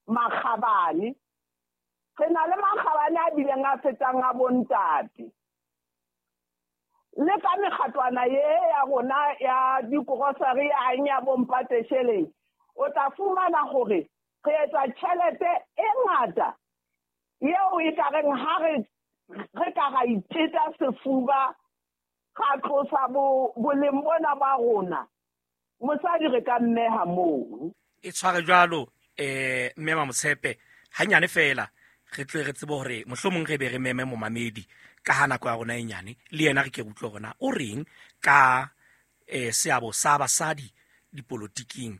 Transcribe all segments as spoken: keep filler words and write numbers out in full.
Makgabane. Re na le makgabane a bileng a fetang a bontate. Le ka mekgatlwana ye ya rona ya dikorosari ya eng ya bompatesheleng, o tla fumana hore re etsa tjhelete e ngata eo e ka reng ha re re ka ra iteta sefuba ra tlosa boleng bona ba rona, mosadi re ka mmeha moo. E tshware jwalo eh mme Mamotshepe hanyane fela re tle re tsebe hore mohlomong re be re meme momamedi ka ha nako ya rona e nyane le yena re ke utlwe rona o reng ka eh seabo sa basadi dipolotiking,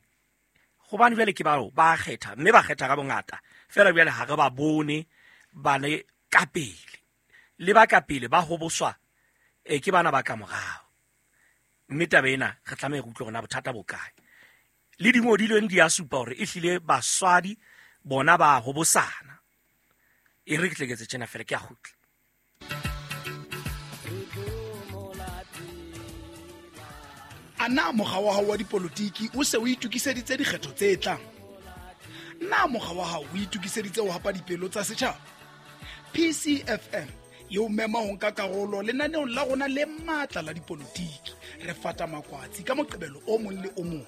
hobane jwale ke bao ba kgetha mme ba kgetha ka bongata fela jwale ha re ba bone ba le ka pele le ba ka pele ba hoboswa e ke bana ba ka morao, mme taba ena re tlameha re utlwe rona bothata bo kae. Le dingodilweng di a supa hore ehlile baswadi bona ba hobosana. E re ke tle ke etse tjena fela ke a kgutla. A na mokga wa hao wa dipolotiki o se o itokiseditse dikgetho tse tlang? Na mokga wa hao o itokiseditse ho hapa dipelo tsa setjhaba? P C F M e o mema ho nka karolo lenaneong la rona le matla la dipolotiki. Re fata makwatsi ka Moqebelo o mong le o mong.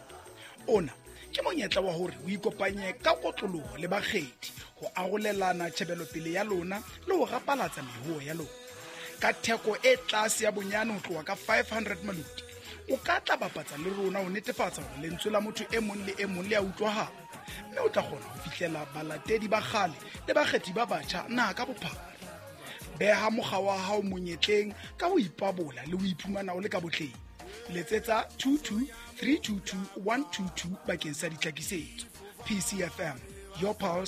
Ona ke monyetla wa hore o ikopanye ka kotloloho le bakgethi ho arolelana tjhebelopele ya lona le ho rapalatsa mehoho ya lona. Ka theko e tlase ya bonyane ho tloha ka five hundred maluti, o ka tla bapatsa le rona ho netefatsa hore lentswe la motho e mong le e mong le a utlwahala, mme o tla kgona ho fihlela balatedi ba kgale le bakgethi ba batjha naha ka bophara. Beha mokga wa hao monyetleng ka ho ipabola le ho iphumana o le ka botleng. Letsetsa two two three two two one two two bakeng sa ditlhakisetso. P C F M, your pulse,